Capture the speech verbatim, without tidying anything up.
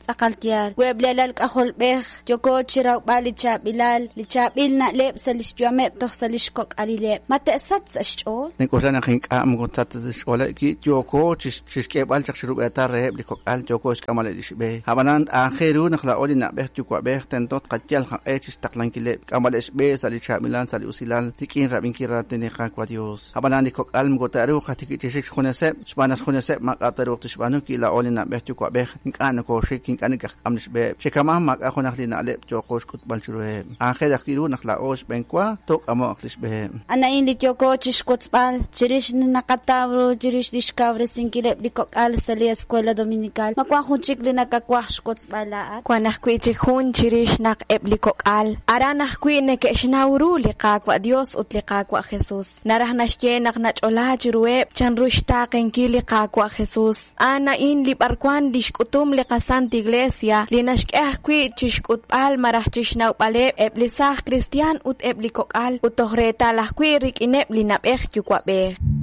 Tz'aqal yaal. Wi eb' li alal k'ajolb'ej yooko chirawb'al li chaab'ilal, li chaab'il na'leb' sa' lix yu'ameb' toj sa' lix kok'alileb', ma te'sachq sa' xch'ool? Nink'oxla naq ink'a' moko tsachq ta sa' xch'ooleb' wi yooko chixk'eeb'al chaq xrub'eetal reheb' li kok'al, yooko xk'amb'aleb' lix b'e. Ab'anan aajel ru naq laa'o li na'b'ej yuwa'b'ej tento tqayal qaq'e chixtaqlankileb', k'amb'aleb' xb'e sa' li chaab'ilal, sa' li usilal, rik'in rab'inkil raatin li Qaawa' Dios. Ab'anan li kok'al moko te'ruuq chi xik xjuneseb', xb'aan naq xjuneseb' maak'a' te'ruuq tixb'aanu wi laa'o li na'b'ej yuwa'b'ej ink'a' nokoxik, ink'a' nakaqk'am lix b'eheb'. Chi kama'an maak'a' junaq li na'leb' yooqo xk'utb'al chiruheb'. Aajel ajwi' ru naq laa'o xb'eenwa took'amo'q lix b'eheb'. A'an li yooko chixwotzb'al chirix li naqataw ru chirix lix kawresinkileb' li kok'al sa' li Escuela Dominical. Ma wan jun chik li nakawaj xwotzb'al laa'at? Wan ajwi' chik jun chirix naq eb' li kok'al aran ajwi' neke'xnaw ru li Qaawa' Dios ut li Qaawa' Jesus. Naraj naxye naq nach'ola chiruheb' chanru xtaaqenkil li Qaawa' Jesus. A'an a'in li b'arwan li xk'utum li qaSanta Iglesia li naxk'e ajwi' chixk'utb'al malaj chixnawb'aleb' eb' li saaj cristian ut eb' li kok'al ut toj reetal ajwi' rik'ineb' li na'b'ej yuwa'b'ej.